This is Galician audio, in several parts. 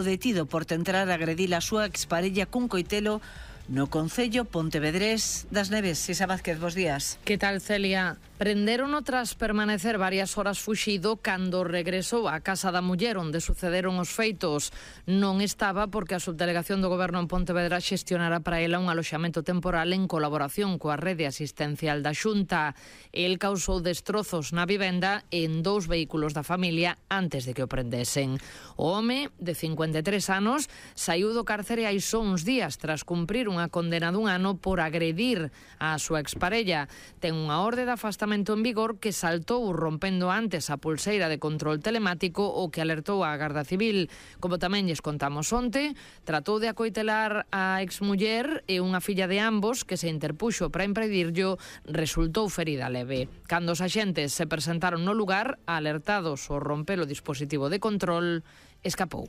detido por tentar agredir a súa exparella cun coitelo no concello pontevedrés das Neves. Isa Vázquez, bos días. Que tal, Celia? Prenderono tras permanecer varias horas fuxido cando regresou á casa da muller onde sucederon os feitos. Non estaba porque a subdelegación do Goberno en Pontevedra xestionara para ela un aloxamento temporal en colaboración coa rede asistencial da Xunta. El causou destrozos na vivenda en 2 vehículos da familia antes de que o prendesen. O home, de 53 anos, saiu do cárcere hai só uns días tras cumprir unha condena dun ano por agredir a súa exparella. Ten unha orde de afastamento en vigor que saltou rompendo antes a pulseira de control telemático o que alertou a Garda Civil. Como tamén lles contamos onte, tratou de acoitelar a exmuller e unha filla de ambos que se interpuxo para impedirllo resultou ferida leve. Cando os axentes se presentaron no lugar, alertados ao romper o dispositivo de control, escapou.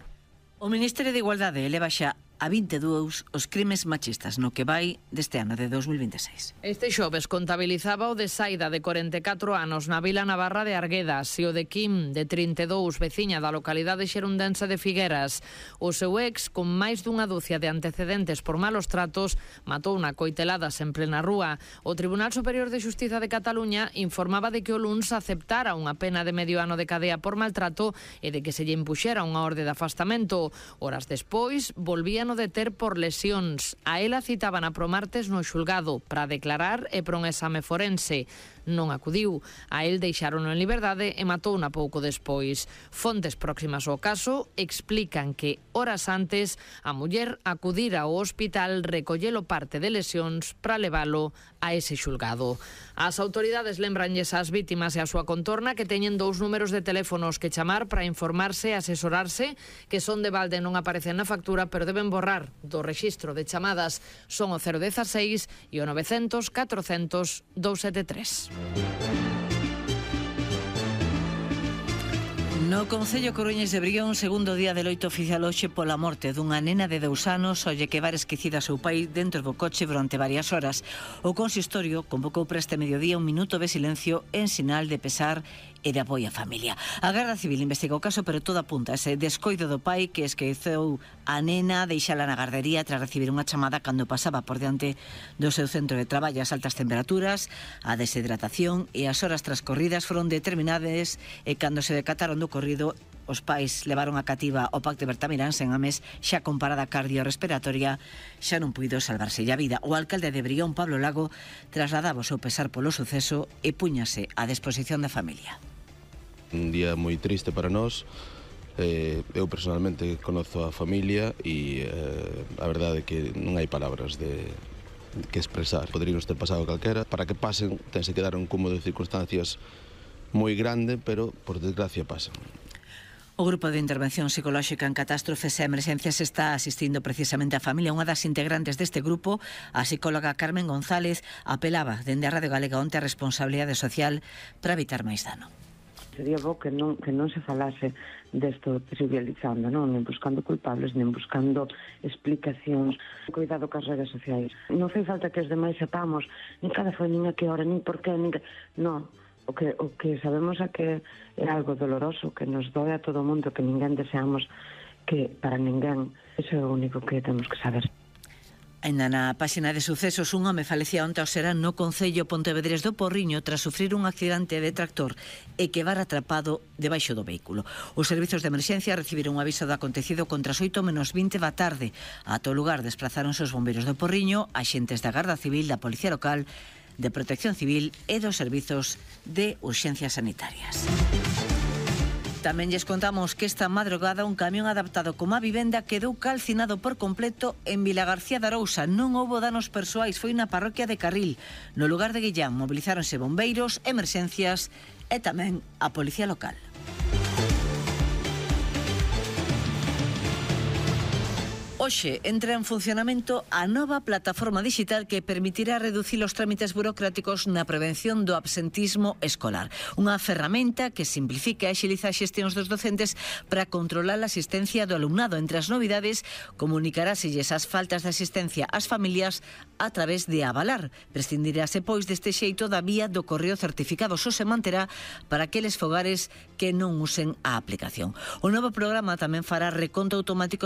O Ministerio de Igualdade eleva xa a 22 os crimes machistas no que vai deste ano de 2026. Este xoves contabilizaba o de Saida, de 44 anos, na Vila Navarra de Arguedas, e o de Kim, de 32, veciña da localidade xerundense de Figueras. O seu ex, con máis dunha dúcia de antecedentes por malos tratos, matou na coiteladas en plena rúa. O Tribunal Superior de Xustiza de Cataluña informaba de que o luns aceptara unha pena de medio ano de cadea por maltrato e de que se lle impuxera unha orde de afastamento. Horas despois, volvían deter por lesións. A ela citaban a promartes no xulgado para declarar e por un exame forense. Non acudiu. A el deixarono en liberdade e matouna pouco despois. Fontes próximas ao caso explican que horas antes a muller acudira ao hospital recollelo parte de lesións para levalo a ese xulgado. As autoridades lembranlles ás vítimas e a súa contorna que teñen 2 números de teléfonos que chamar para informarse e asesorarse, que son de balde, non aparecen na factura, pero deben borrar do rexistro de chamadas. Son o 016 e o 900 400 273. No concello coruñés de Brión, segundo día de loito oficial hoxe pola morte dunha nena de 2 anos ao lle quedar esquecida a seu pai dentro do coche durante varias horas. O consistorio convocou para este mediodía un minuto de silencio en sinal de pesar e de apoio á familia. A Garda Civil investiga o caso, pero todo apunta a ese descoido do pai que esqueceu a nena, deixala na gardería tras recibir unha chamada cando pasaba por diante do seu centro de traballo. As altas temperaturas, a deshidratación e as horas transcorridas foron determinadas e cando se decataron do corrido, os pais levaron a cativa o Pac de Bertamirán sen Ames, xa con parada cardiorrespiratoria, xa non puido salvarse a vida. O alcalde de Brión, Pablo Lago, trasladaba o seu pesar polo suceso e púñase á disposición da familia. Un día moi triste para nós. Eu personalmente conozo a familia e a verdade é que non hai palabras que expresar. Poderíamos ter pasado calquera. Para que pasen, tense que dar un cúmulo de circunstancias moi grande, pero por desgracia pasan. O Grupo de Intervención Psicolóxica en Catástrofes e Emerxencias está asistindo precisamente a familia. Unha das integrantes deste grupo, a psicóloga Carmen González, apelaba dende a Radio Galega onte a responsabilidade social para evitar máis dano. Sería bo que non se falase desto trivializando, non? Nen buscando culpables, nen buscando explicacións. Cuidado cas redes sociais. Non fai falta que os demais sepamos nin cada foi, nin a que hora, nin por qué, nin que... Non. O que sabemos é que é algo doloroso, que nos doe a todo o mundo, que ninguén deseamos que para ninguén. Iso é o único que temos que saber. Ainda na páxina de sucesos, un home falecía onte ao serán no concello pontevedrés do Porriño tras sufrir un accidente de tractor e quedar atrapado debaixo do vehículo. Os servizos de emerxencia recibiron un aviso do acontecido contra as 8:20 da tarde. Ata o lugar desplazáronse os bombeiros do Porriño, axentes da Garda Civil, da Policía Local, de Protección Civil e dos servizos de urxencias sanitarias. Tamén lles contamos que esta madrugada un camión adaptado como a vivenda quedou calcinado por completo en Vilagarcía de Arousa. Non houbo danos persoais, foi na parroquia de Carril. No lugar de Guillán mobilizáronse bombeiros, emerxencias e tamén a Policía Local. Hoxe entra en funcionamento a nova plataforma digital que permitirá reducir os trámites burocráticos na prevención do absentismo escolar. Unha ferramenta que simplifica e axiliza as xestións dos docentes para controlar a asistencia do alumnado. Entre as novidades, comunicaráselles as faltas de asistencia ás familias a través de Avalar. Prescindirase, pois, deste xeito da vía do correo certificado. Só se manterá para aqueles fogares que non usen a aplicación. O novo programa tamén fará reconto automático